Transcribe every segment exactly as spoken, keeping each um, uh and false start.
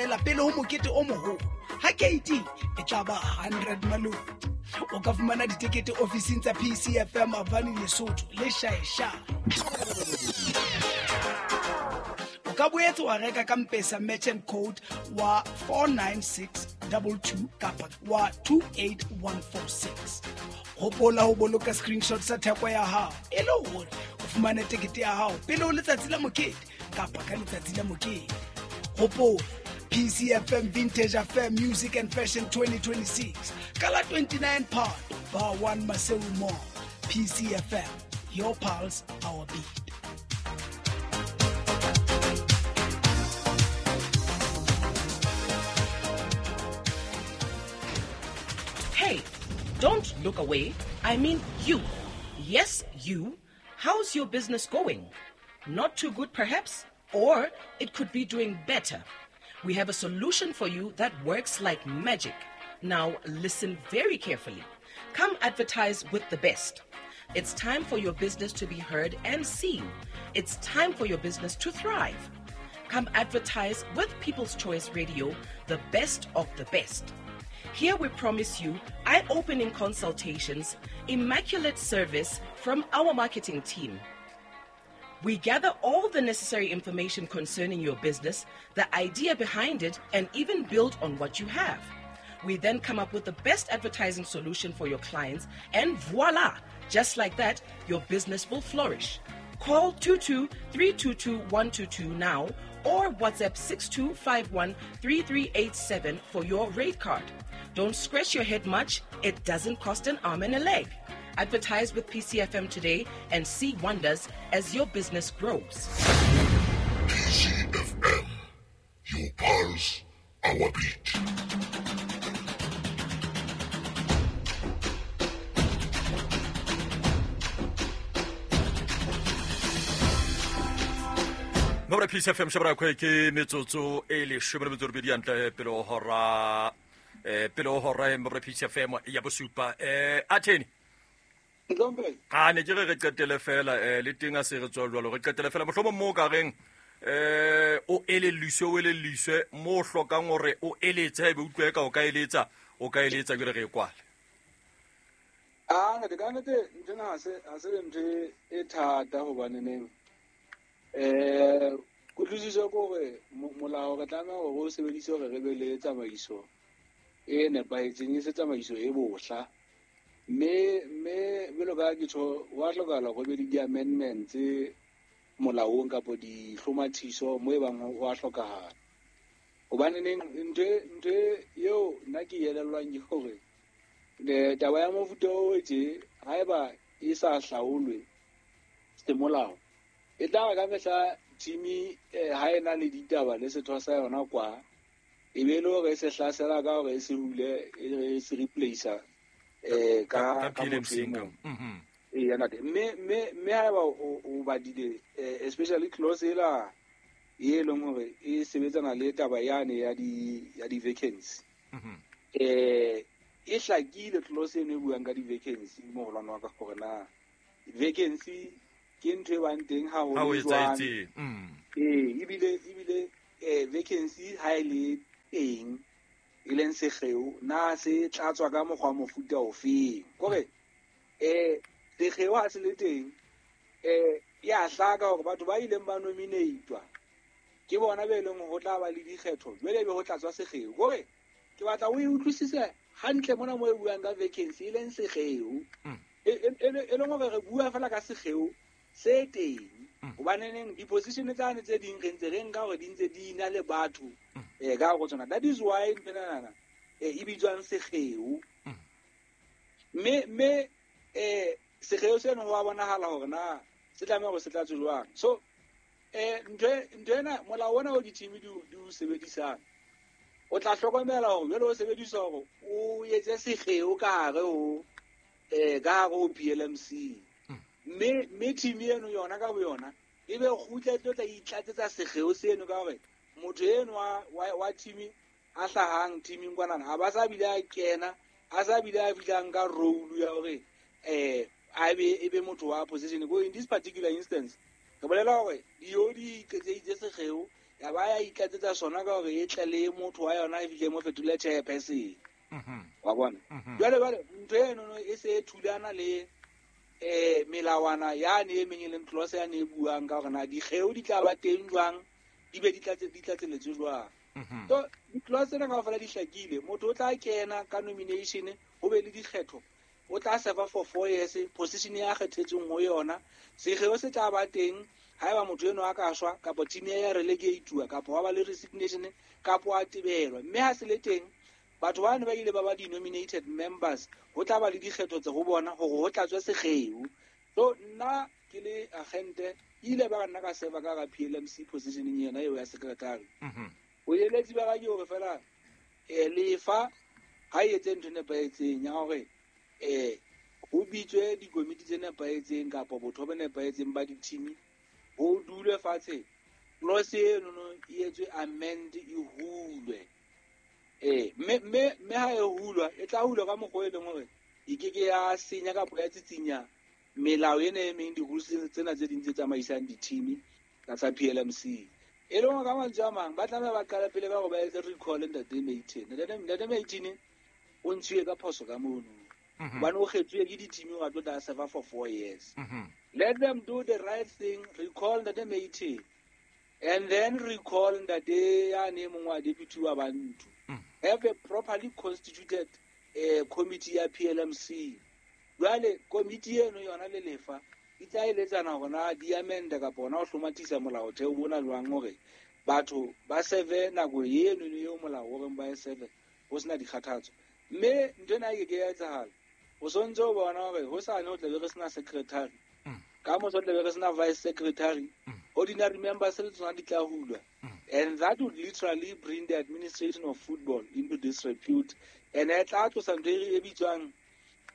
Pele ho mokete o moholo ha keiti e tla ba hundred malome. O ka fumana ditekete ofising tsa P C F M Avani Lesotho le Shaesha. O ka boetse wa reka ka M-Pesa merchant code wa four nine six two two kapa wa two eight one four six. Hopola ho boloka screenshot sa theko ya hao e le hore o fumane tekete ya hao pele ho letsatsi la mokete kapa ka letsatsi la mokete. Hopola P C F M Vintage Affair Music and Fashion twenty twenty-six. Kala twenty-nine Part, Bar one Maseru Mall. P C F M, your pulse, our beat. Hey, don't look away. I mean you. Yes, you. How's your business going? Not too good, perhaps? Or it could be doing better. We have a solution for you that works like magic. Now listen very carefully. Come advertise with the best. It's time for your business to be heard and seen. It's time for your business to thrive. Come advertise with People's Choice Radio, the best of the best. Here we promise you eye-opening consultations, immaculate service from our marketing team. We gather all the necessary information concerning your business, the idea behind it, and even build on what you have. We then come up with the best advertising solution for your clients, and voila! Just like that, your business will flourish. Call two two three two two one two two now or WhatsApp six two five one three three eight seven for your rate card. Don't scratch your head much. It doesn't cost an arm and a leg. Advertise with P C F M today and see wonders as your business grows. P C F M, your pulse, our beat. Mora P C F M shabra kwe ke metsotso e leshome le metso e robedi hantle pele ho hora eh pele ho hora mora P C F M ya bosupa eh atheni. A ne ke re re qetele fela eh le teng a se re tswa jwalo re qetele fela mohlomong mo ka reng eh o elelliswe o elelliswe mo hlokang hore o eletse ebe utlwe ka o ka eletsa o ka eletsa ke re re kwale. A ne ka nete ntena ha se ha se ntho e thata hobane neng eh kutlwisiso ke hore molao re tlameha hore o sebedise hore re be le tsamaiso e nepahetseng e se tsamaiso e bohla. Mme mme jwalo ka ke tjho wa hlokahala hore be le di-amendments molaong kapa dihlomathiso mo e bang ho a hlokahala. Hobane neng ntho ntho eo nna ke elellwang ke hore taba ya mofuta o tje haeba e sa hlaolwe semolao e tla re ka mehla team ha e na le ditaba le setho sa yona kwa e be le hore e se hlasela ka hore e se hule e se replacer eh ka ka motho e mong. Eh yana te mme mme mme haeba o badile especially clause ela e leng hore e sebetsana le taba yane ya di ya di vacancy. Eh e hlakile clause eno e buang ka di vacancy moholwane wa ka hore na vacancy ke ntho e bang teng ha ho le jwang. Eh ebile ebile eh vacancy ha e le teng e leng sekgeo na se tlatswa ka mokgwa mofuta ofeng kore eh sekgeo ha se le teng eh ya hlaka hore batho ba ileng ba nominatwa ke bona be leng ho tla ba le dikgetho jwale be ho tlatswa sekgeo kore ke batla o e utlwisise hantle mona mo e buang ka vacancy e leng sekgeo e e leng hore re bua fela ka sekgeo se teng hobane neng di-position tsane tse ding re ntse re nka hore di ntse di na le batho eh ka go tsona. That is why nna eh e bitswang sekgeo mme mme eh sekgeo seno ho a bonahala hore na se tlameha hore se tlatswe jwang. So eh ntho ntho ena molao ona o di-team di di o sebedisang o tla hlokomela hore jwale o sebedisa hore o etse sekgeo ka hare ho eh ka hare ho P L M C mme mme team eno yona ka boyona e be kgutla tlo tla itlatsetsa sekgeo seno ka hore motho eno wa wa team a hlahang teaming kwanana ha ba sa bile a kena a sa bile a fihlang ka role ya hore eh a be e be motho wa position. Go in this particular instance re bolela hore dio di qetseditse sekgeo Ya ba ya itlatsetsa sona ka hore e tle le motho wa yona e fihle mo fetole chairperson. Wa bona. Jwale jwale ntho eno e se e thulana le eh melawana ya ne e meng e leng clause ya ne e buang ka hore na dikgeo di tla ba teng jwang, di be di tlatse di tlatseletswe jwang. So di-clause tsena kaofela di hlakile. Motho o tla kena ka nomination, ho be le dikgetho, o tla serve for four years position ya kgethetsweng ho yona. Sekgeo se tla ba teng haeba motho eno a ka shwa kapa team ya relegatewa kapa wa ba le resignation kapa a tebelwa. Mme ha se le teng batho ba ne ba ile ba ba di-nominated members, ho tla ba le dikgetho tse ho bona hore ho tlatswe sekgeo. So nna ke le agente ile ba nna ka serve ka ga P L M C positioning yena eo ya secretary. O eletsi ba ga ke hore fela eh lefa ha e etse ntho e nepahetseng ya hore eh ho bitswe dikomiti tse nepahetseng kapa botho bo nepahetseng ba di-team, ho dulwe fatshe, clause eno no e etswe amend, e hulwe. Eh mme mme mme ha e hulwa e tla hulwa ka mokgwa e leng hore e ke ke ya senya kapa ya tsitsinya melao ena e meng, di-rules tsena tse ding tse tsamaisang di-team tsa P L M C. E leng ka mantswe a mang ba tlameha ba qala pele ka hore ba etse recall ntate Maitin. Ntate Maitin o ntshuwe ka phoso ka mono. Hobane o kgethuwe ke di-team hore a tlo tla serve for four years. Let them do the right thing, recall ntate Maitin and then recall ntate ya ne mongwe wa deputy wa Bantu. Have a properly constituted uh, committee ya P L M C. Jwale committee eno yona le lefa e tla eletsana hore na di amend kapa hona ho hlomathisa molaotheo bona jwang hore batho ba serve nako eno eo molao o reng ba e serve ho sena dikgathatso. Mme ntho ena e ke ke ya etsahala. O sontse o bona hore hosane ho tla be re sena secretary, ka moso ho tla be re sena vice secretary, ordinary members le tsona di tla hulwa. And that would literally bring the administration of football into disrepute. And e tla tlosa ntho e bitswang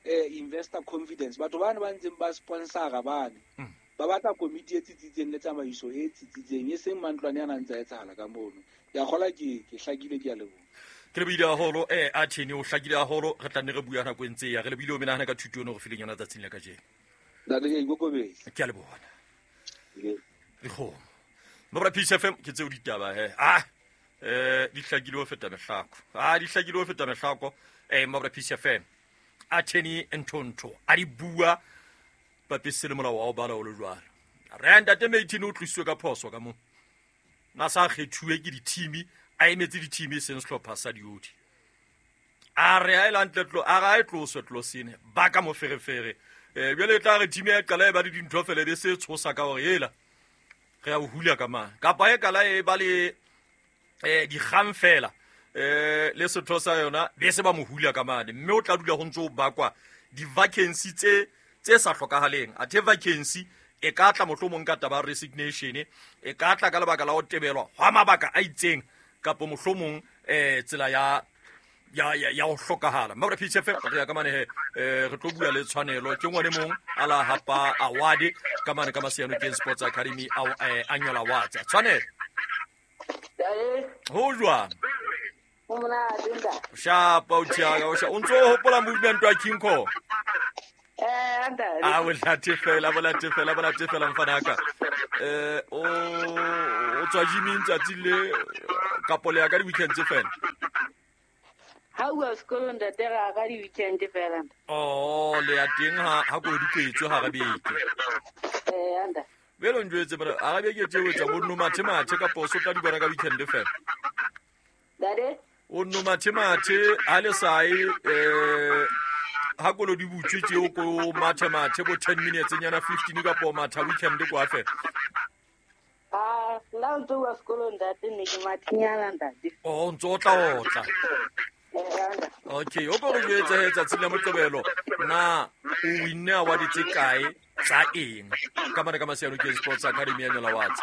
eh, investor confidence. Batho bana ba ntseng ba sponsora bane ba batla komiti e tsitsitseng le tsamaiso e tsitsitseng, e seng mantlwane a nang tsa etsahala ka mono. Ke a kgola ke ke hlakile, ke a leboha. Ke lebile haholo eh Athene o hlakile haholo, re tla nne re bua nako e ntse ya re lebile o menahana ka thuto eno re fileng yona tsatsing la kajeno. Ntate ke ikokobetse. Ke a leboha. Dikgomo. Mabra Peace F M ke tseo ditaba he. Ah eh di hlakile ho feta mehlako. Ah di hlakile ho feta mehlako eh Mabra Peace F M. Athene Nthonto a di bua bapise le molao wa o bala o le jwalo. Re ntate Maitin o tlisitswe ka phoso ka mo. Na sa kgethuwe ke di-team, a emetse di-team e seng sehlopha sa diodi. A re a e lantle tlo, a re a e tloswe tlosene, ba ka moferefere. Eh jwale e tla re team ya qala e ba le dintho fela be se tshosa ka hore ela re ya o hula ka mang. Kapa e kala e ba le eh dikgang fela eh le setho sa yona be se ba mo hula ka mane, mme o tla dula ho ntso o bakwa di-vacancy tse tse sa hlokahaleng. Athe vacancy e ka tla mohlomong ka taba resignation, e ka tla ka lebaka la ho tebelwa hwa mabaka a itseng kapa mohlomong eh tsela ya ya ya ya ho hlokahala. Mabra P C F re ya ka mane he eh re tlo bua le tshwanelo ke ngwane mong a la hapa award ka mane ka Masianokeng Sports Academy a annual awards. Tshwanelo ho jwang? Shapa o tjaka o sha o ntso hopola movement wa King Kong. Eh ntate. Ah o late fela bo late fela bo late fela mfana ka. Eh o o tswa gyming tsatsi le kapo le ya ka di weekend tse fela. Ha o sekolong ntate ra ka di weekend fela. Oh le ya teng ha ha go di kwetswe ha rabeke. Eh ntate. Belo njwetse bara a rabeke tse o tsa bo no mathe mathe kapo o sotla di bona ka weekend fela. Ntate o no mathe mathe ha le sai eh ha kolo di butswe tse o ko mathe mathe bo ten minutes nyana fifteen kapo matha weekend kwa fela. Ah la ntse wa sekolong ntate ne ke mathinyana ntate. Oh ntso tla otla. Okay, o ko re jwetse he tsatsi la Moqebelo na o winne award tse kae tsa eng ka mane ka Masianokeng Sports Academy annual awards?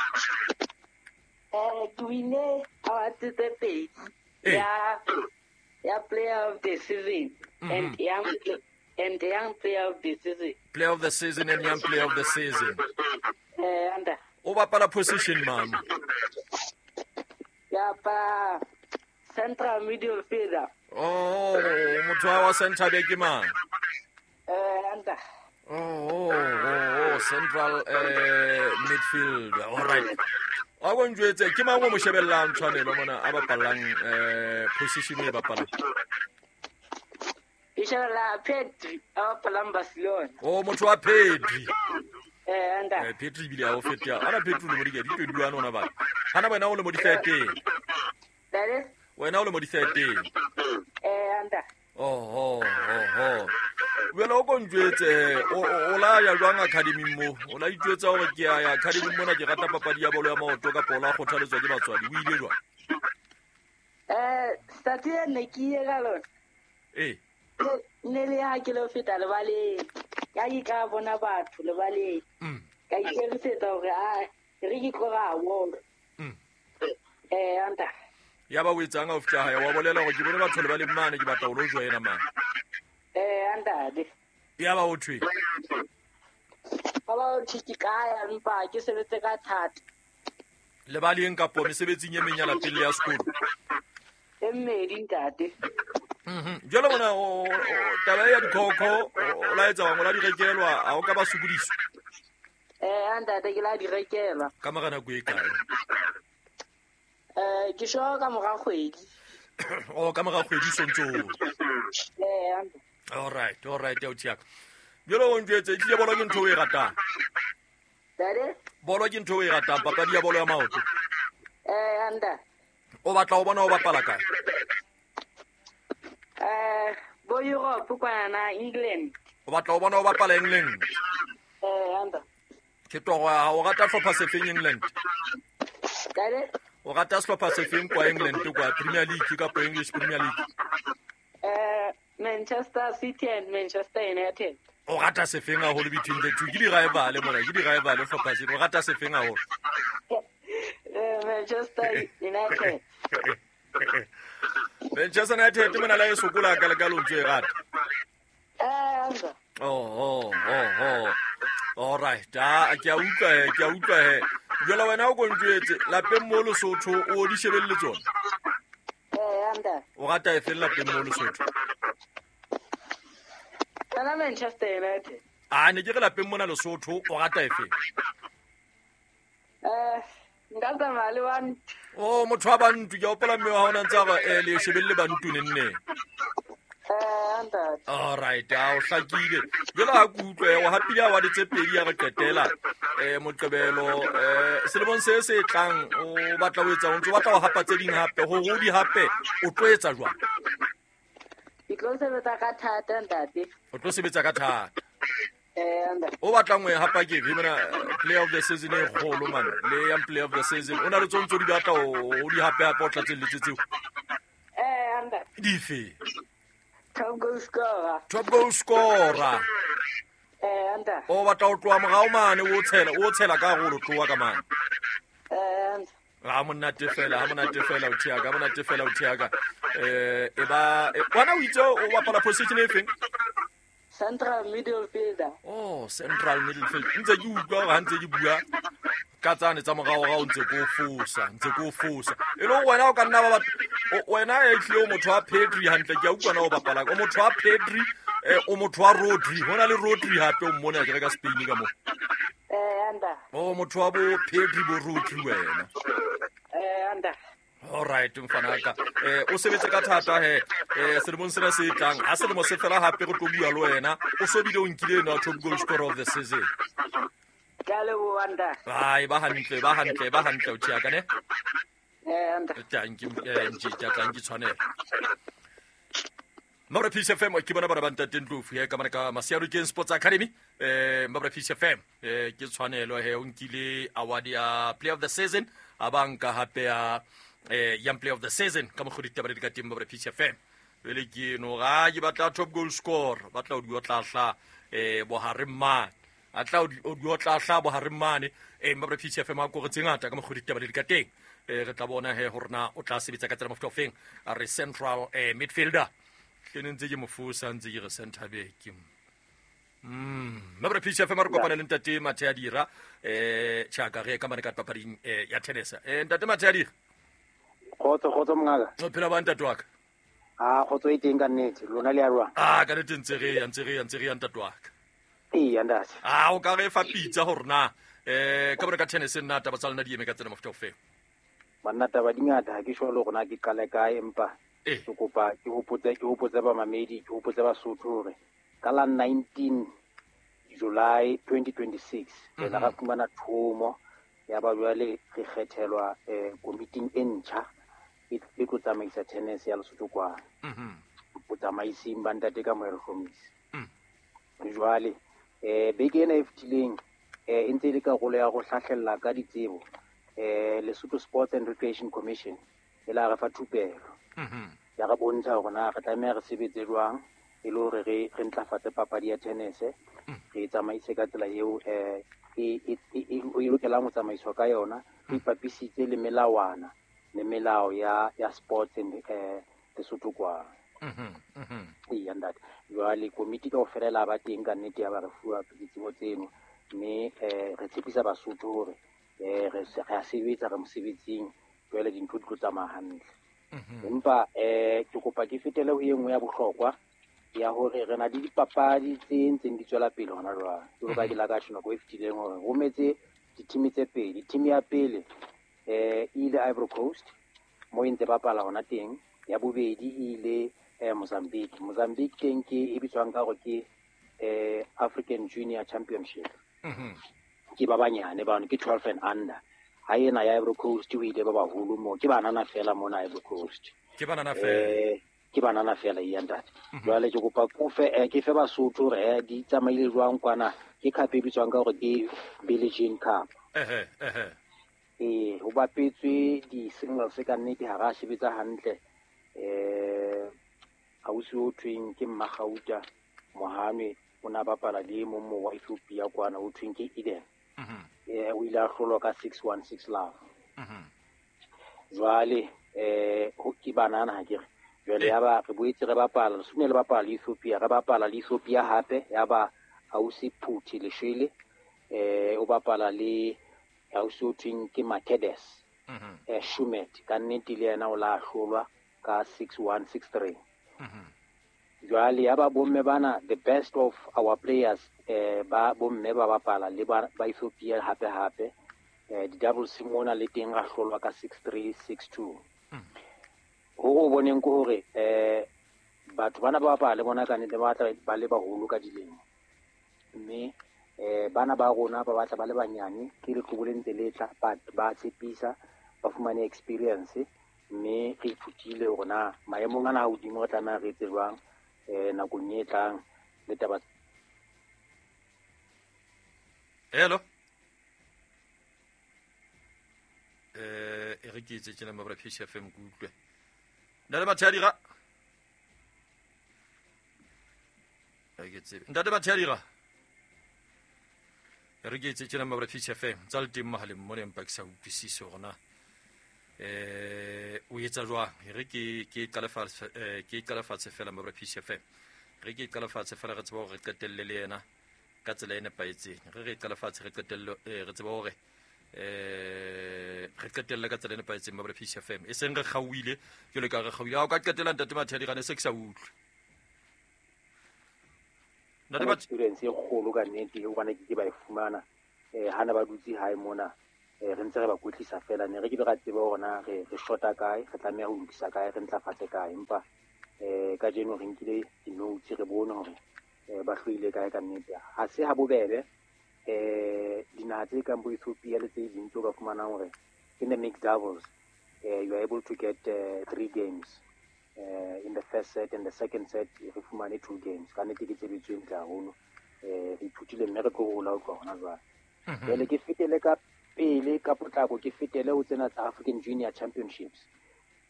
Eh ke winne award tse pedi ya ya player of the season and young and young player of the season. Player of the season and young player of the season. Eh anda. O bapala position mama? Ya pa central midfielder. Oh, motho wa center back ke mang? Eh anda. Oh, oh, oh, oh, central eh midfield. All right. A go njwetse ke mang o mo shebellang Tshwanelo mona a bapallang eh position e bapalang? Ke shebella Pedri a bapalang Barcelona. Oh motho wa Pedri. Eh anda. Eh Pedri bile a o feta. Ana Pedri le mo di di twenty-one ona ba. Hana wena o le mo di thirteen. That is? Wena o le mo di thirteen. Eh anda. Oh oh oh oh. Wena o konjwetse o la ya jwang academy mo o la itjwetsa hore ke ya academy mona ke rata papadi ya bolo ya maoto ka pola kgothaletswa ke batswadi o ile jwang? Eh stati ne ke ile ka lona. Eh ne le ha ke lo feta lebaleng ka ke ka bona batho lebaleng ka ikemisetsa hore a re ke tloga bolo. Mm. Eh anta ya ba o etsang ha o fihla hae wa bolela hore ke bone batho lebaleng mane ke batla o lo joina mane. Eh andade. Ya ba o thwe. Ba ba o thwe ke ya mpa ke sebetse ka thata. Lebaleng kapo mesebetsing e meng ya lapeng le ya sekolo. E mmedi ntate. Mhm. Jwale bona o taba ya dikhokho o la etsa wa ngola di rekelwa a o ka ba sokodiswa. Eh andade ke la di rekelwa. Ka mora nako e kae? Eh ke sho ka mora kgwedi. Oh ka mora kgwedi sontso. Eh anda. All right, all right, ya utsiaka. Jwale o njwetse tlile bolo ke ntho o e ratang. Dade? Bolo ke ntho o e ratang, papadi ya bolo ya maoto. Eh anda. O batla o bona o bapala kae? Eh bo Europe kwana England. O batla o bona o bapala England. Eh anda. Ke toro ya o rata hlopha sefeng England? Dade? O rata hlopha sefeng kwa England kwa Premier League kapa English Premier League? Eh Manchester City and Manchester United. O rata sefeng haholo between the two? Ke di rival mona, ke di rival hlopha se. O rata sefeng haholo? Eh Manchester United. Manchester United mona la e sokola ka le ka lontso e rata. Eh anda. Oh oh oh oh. All right, ah ke a utlwa he, ke a utlwa he. Jwale wena o konjwetse lapeng mo Lesotho o di shebelle tsona? Eh anda. O rata e feng lapeng mo Lesotho? Tsana Manchester United. Ah ne ke re lapeng mona Lesotho o rata e feng? Eh nka tsamaya le Bantu. Oh motho wa Bantu ke hopola mme wa hao na ntse a re eh le shebelle Bantu nenne. Eh anda. All right, a o hlakile. Jwale ha ke utlwe o hapile a wa tse pedi ya re qetela eh moqebelo eh selemong se se tlang o batla o etsa o ntse o batla ho hapa tse ding hape hore o di hape o tlo etsa jwang? Ke tlo sebetsa ka thata ntate. O tlo sebetsa ka thata. Eh anda. O batlang o e hapa ke efe mona player of the season e kgolo man le yang player of the season o na le tsontso di batla o di hape hape o tlatselletse tseo. Eh anda. Dife? Top goal scorer. Top goal scorer. Eh anda. O batla o tloha morao mane o tshela o tshela ka hore o tloha ka mane. Eh anda. Ha monate fela, ha monate fela o thiaka, ha monate fela o thiaka. Eh e ba wena o itse o bapala position e feng? Central midfielder. Oh, central midfielder. Ntse ke utlwa hore ha ntse ke bua ka tsane tsa morao rao ntse ko fosa, ntse ko fosa. E le wena o ka nna ba wena e tlile o motho wa Pedri hantle ke a utlwa na o bapala. O motho wa Pedri, eh o motho wa Rodri. Hona le Rodri hape o mmone a ke re ka Spain ka mo. Eh anda. Oh motho wa bo Pedri bo Rodri wena. Eh anda. All right mfanaka. Eh o sebetse ka thata he. Eh selemong sena se tlang. Ha selemo se fela hape re tlo bua le wena. O sobile o nkile ena top goal scorer of the season. Ka leboha anda. Ai ba hantle, ba hantle, ba hantle o thiaka ne. Eh anda. Thank you eh ntse tla ke tshwanela. Mabra Peace F M ke bona bana ba ntate Ndlovu he ka mara ka Masiaro Keng Sports Academy eh Mabra Peace F M eh ke tshwanelo he o nkile award ya player of the season a banka hape ya eh young player of the season ka mogodi ditaba di ka teng Mabra Peace F M le ke no ga ke batla top goal scorer batla o di otla eh bohare mane a tla o di otla hla bohare mane eh Mabra Peace F M a go tse ngata ka mogodi ditaba di ka teng eh re tla bona he hore na o tla sebetsa ka tsela mofuta ofeng a re central eh midfielder ke ntse ke mofosa ntse ke re center back. Mm Mabra Peace F M re kopana le ntate Mathea Dira eh tjaka re ka mane ka papading eh ya tennis. Eh ntate Mathea Dira. Khotso khotso mongaka. O phela ba ntate wa ka? Ah khotso e teng ka nnete lona le ya jwang? Ah ka nnete ntse re ya ntse re ya ntse re ya ntate wa ka. Ee ntate. Ah o ka re fa pitsa hore na Eh ka bore ka tennis nna taba tsa lona di eme ka tsena mofuta ofe? Banna taba di ngata ha ke sure le rona ke qale kae empa ke kopa ke hopotse ke hopotse ba mamedi ke hopotse Basotho hore ka la nineteen July twenty twenty-six re la ra fumana thomo ya ba jwale re kgethelwa eh komiting e ntjha e tlo tsamaisa tennis ya Lesotho kwa botsamaising ba ntate ka Moero Hlomise. Jwale eh beke ena e fetileng eh e ntse e le karolo ya go hlahlella ka ditsebo eh Lesotho Sports and Recreation Commission e la re fa thupelo ya re bontsha hore na re tlameha re sebetse jwang e le hore re re ntlafatse papadi ya tennis re tsamaise ka tsela eo eh e e e lokelang ho tsamaiswa ka yona re ipapisitse le melawana le melao ya ya sports and eh Lesotho kwa. Ee ntate jwale komiti kaofela la ba teng ka nnete ya ba re fuwa ditsebo tseno mme eh re tshepisa Basotho hore eh re re a sebetsa re mosebetsing jwale dintho di tlo tsamaya hantle. Empa eh ke kopa ke fetele ho e nngwe ya bohlokwa ya hore re na le dipapadi tse ntseng di tswela pele hona jwale. Jwalo ka ke la ka tjho nako e fetileng hore rometse di-team tse pedi. Team ya pele eh e ile Ivory Coast mo e ntse bapala hona teng, ya bobedi e ile eh Mozambique. Mozambique teng ke e bitswang ka hore ke eh African Junior Championship. Ke ba banyane bano ke twelve and under. Ha ena ya Ivory Coast o ile ba baholo mo ke banana fela mona Ivory Coast. Ke banana fela. Ke banana fela e ntate. Jwale ke kopa kofe ke fe Basotho hore di tsamaile jwang kwana ke cup e bitswang ka hore ke Billie Jean Cup. Ehe ehe. Eh ho bapetswe di singles ka nnete ha ra sebetsa hantle. Eh ausi o thweng ke Mmagauta Mohame o na bapala le mong mo wa Ethiopia kwana o thweng ke Eden. Eh o ile a hlolwa ka six one six love. Jwale eh ho ke banana ha ke re jwale ya ba re boetse re bapala re sune le bapala le Ethiopia re bapala le Ethiopia hape ya ba ausi Phuthi Leshele eh o bapala le ausi o thweng ke Makedes eh Shumet ka nnete le yena o la hlolwa ka six one six three. Jwale ya ba bomme bana the best of our players eh ba bomme ba bapala le ba Ethiopia hape hape eh di double simona le teng ra hlolwa ka six three six two. Ho go boneng ke hore eh batho bana ba bapala le bona ka nnete ba batla ba le baholo ka dilemo mme eh bana ba rona ba batla ba le banyane ke leqhubu le ntse le tla ba ba tshepisa ba fumane experience mme re ithutile hore na maemong ana a hodimo re tlameha re etse jwang eh nakong e tlang le taba. Hello eh e re ke itse tjena mabra P C F M kutlwe Ntate Mathadira a ke tsebe Ntate Mathadira e re ke itse tjena mabra P C F M tsa le teng mohaleng mona empa ke sa utlwisise hore na eh o etsa jwang. E re ke ke qale fatshe ke qale fatshe fela mabra P C F M re ke qale fatshe fela re tseba hore re qetelle le yena ka tsela e nepahetseng. Re re qale fatshe re qetelle re tseba hore eh re qetelle ka tsela e nepahetseng mabra P C F M e seng re kgauile jwalo ka re kgauile ha o ka qetela Ntate Mathadira ne se ke sa utlwe Ntate Mathadira experience e kgolo ka nnete hobane ke ke ba e fumana eh hana ba dutse hae mona eh re ntse re ba kwetlisa fela ne re ke be ra tseba hore na re re shota kae re tlameha ho lokisa kae re ntlafatse kae empa eh kajeno re nkile di-notes re bone hore ba hloile kae ka nnete. Ha se ha bobebe eh dinaha tse kang bo Ethiopia le tse ding tse o ka fumanang hore in the mixed doubles uh, you are able to get uh, three games uh, in the first set and the second set re fumane two games ka nnete ke tshebetso e ntle haholo eh re ithutile mme re tlo hola ho tloha hona jwale. Jwale ke fetele ka pele ka potlako ke fetele ho tsena tsa African Junior Championships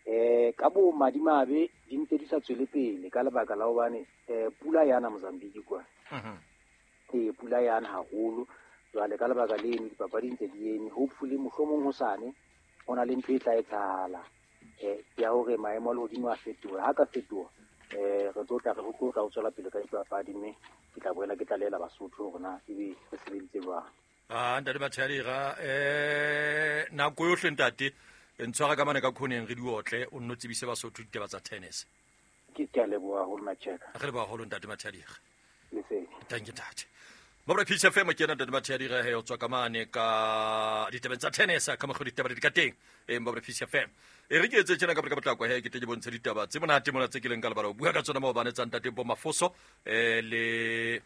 eh ka bo madimabe di ntse di sa tswele pele ka lebaka la hobane eh pula yana Mozambique kwa eh pula yana haholo jwale ka lebaka leno dipapadi ntse di eme hopefully mohlomong hosane ho na le ntho e tla etsahala eh ya hore maemo a lehodimo a fetoha ha ka fetoha eh re tlo tla re ho tla ho tswela pele ka dipapadi mme ke tla boela ke tlalela Basotho hore na ebe re sebeditse jwang. Ah Ntate Mathadira eh nako yohle ntate ntshwara ka mane ka khoneng re di otle o nno tsebise Basotho ditaba tsa tennis. Ke ke a leboha haholo Macheka. Re leboha haholo Ntate Mathadira. Lesedi. Thank you ntate. Mabra P C F M ke ena ntate Mathea Direhe o tswa ka mane ka ditabeng tsa tennis ka mokgwa ditaba di ka teng e Mabra P C F M. E re ke etse tjena ka ka potlako he ke tle ke bontshe ditaba tse monate mona tse ke leng ka lebala ho bua ka tsona maobane tsa ntate Bo Mafoso eh le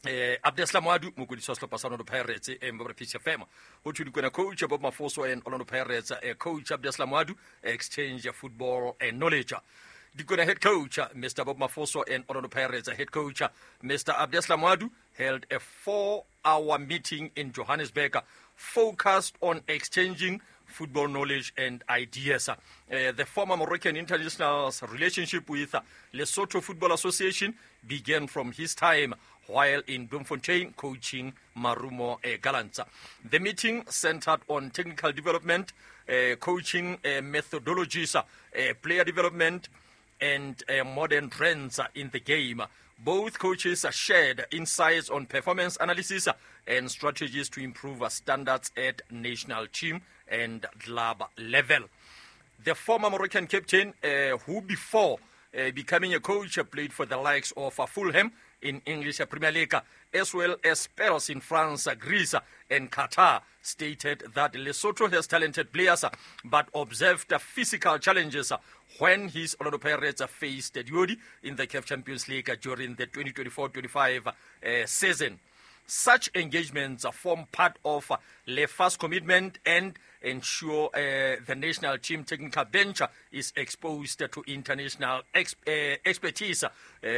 eh Abdeslam Wadu mokodisi wa sehlopha sa Orlando Pirates e Mabra P C F M. Ho thwe Dikwena coach Bob Mafoso and Orlando Pirates eh coach Abdeslam Wadu exchange football and knowledge. Dikwena head coach Mister Bob Mafoso and Orlando Pirates head coach Mister Abdeslam Wadu held a four-hour meeting in Johannesburg focused on exchanging football knowledge and ideas. Uh, the former Moroccan international's relationship with Lesotho Football Association began from his time while in Bloemfontein coaching Marumo uh, Gallants. The meeting centered on technical development, uh, coaching uh, methodologies, uh, player development, and uh, modern trends in the game. Both coaches shared insights on performance analysis and strategies to improve standards at national team and club level. The former Moroccan captain, uh, who before uh, becoming a coach played for the likes of uh, Fulham in English Premier League, as well as spells in France, Greece, and Qatar, stated that Lesotho has talented players, but observed physical challenges when his Orlando Pirates faced Diodi in the C A F Champions League during the twenty twenty-four twenty-five uh, season. Such engagements form part of Lefa's commitment and ensure uh, the national team technical bench is exposed to international ex- uh, expertise uh,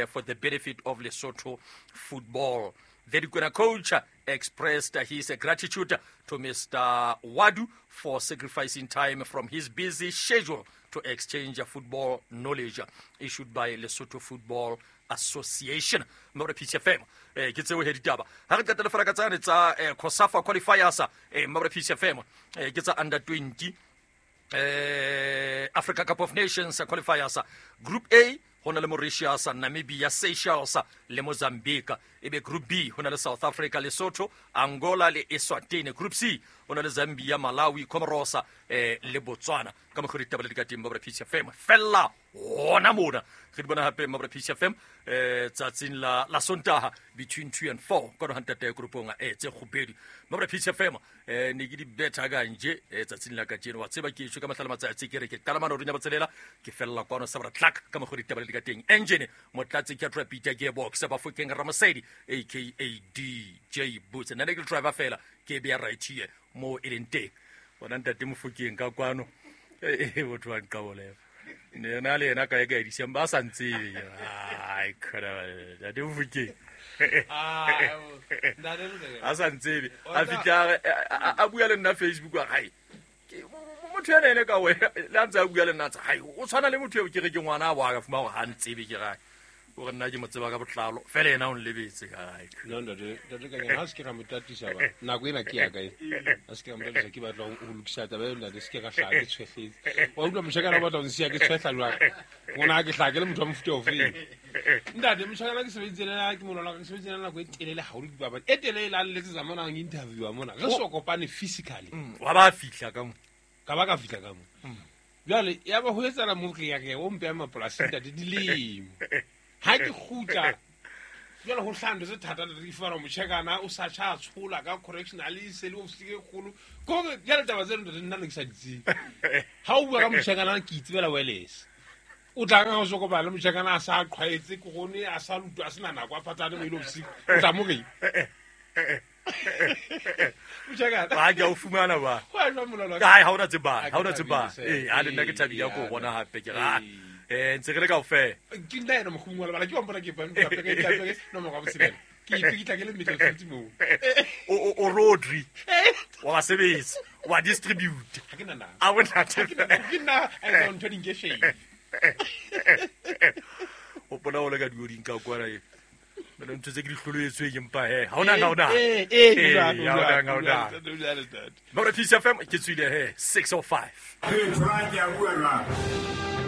for the benefit of Lesotho football. The Dikwena coach expressed his gratitude to Mister Wadu for sacrificing time from his busy schedule to exchange football knowledge issued by Lesotho Football Association. Mabra P C F M eh ke tseo he ditaba ha re qetela fela ka tsane tsa COSAFA qualifiers eh Mabra P C F M eh ke tsa under twenty eh Africa Cup of Nations qualifiers Group A ho na le Mauritius, Namibia, Seychelles le Mozambique. Ebe Group B ho na le South Africa, Lesotho, Angola le Eswatini. Group C ho na le Zambia, Malawi, Comoros eh le Botswana. Ka mokgwa ditaba le di ka teng Mabra P C F M fella hona mona re di bona hape Mabra P C F M eh tsatsing la la Sontaha between two and four ka hona ntate groupong eh tse kgobedi Mabra P C F M eh ne ke di betha ka nje eh tsatsing la kajeno wa tseba ke tshwe ka mahlala matsatsi ke re ke qala mano runya botselela ke fella kwano sa bra tlak ka mokgwa ditaba le di ka teng engine motlatsi ke trapita gearbox ba fokeng Ramosedi aka D J Boots nna ne ke driver fela ke be right here mo e leng teng bona ntate Mofokeng ka kwano eh botho wa nqabolela ne na le yena kae kae December a sa ntsebe ai khona ntate Mofokeng a sa ntsebe a fitla a bua le nna Facebook wa hae motho ena ene ka we le a ntse a bua le nna tsa hai o tshwana le motho eo ke re ke ngwana wa ka fuma gore ha ntsebe ke rae o re nna ke mo tseba ka botlalo fela ena o nlebetse kae no ntate ntate ka ha se ke ra motatisa ba nako ena ke ya kae ha se ke ra motatisa ke batla ho lokisa taba eo ntate se ke ra hlaha ke tshwehletse wa utlwa moshakana o batla ho nsiya ke tshwehla jwang ngwana ke hlaha ke le motho wa mofuta ofeng ntate moshakana ke sebeditse le ke molwana ke sebeditse le nako e telele haholo dipapadi e telele a letsetsa mona ang interview mona re so kopane physically wa ba fihla ka mo ka ba ka fihla ka mo jwale ya ba ho etsala mo ke ya ke o mpe mapolasing ntate dilemo ha ke kgutla jwale ho hlando tse thata le re fara mochekana o sa tsha tshola ka correctional e se le ofisi e kgolo go jwale taba tseno ntate nna ne ke sa di tsebe ha o bua ka mochekana ke itsebela wireless o tla ka go kopana le mochekana a sa qhwaetse ke gone a sa lutwa a sena nako a phatane mo ile ofisi o tla mo reng mochekana ba ke o fumana ba ga ha ona tseba ha ona tseba eh a le nna ke thabile go bona hape ke ra eh ntse re le kaofela ke nna ena mogongwe wa lebala ke wa mpona ke bang ke ke ke no mo ga botsebela ke ipikitla ke le midfield mo o o Rodri wa ba sebetsa wa distribute ha ke na na a bona ke nna a etsa ntho di nke shame o bona o le ka dioding ka kwana e bana ntho tse ke di hloloetswe ke mpa he ha ona ha ona eh eh ha ona ha ona Mabra P C F M ke tswile he six oh five ke tshwara ke a bua jwang.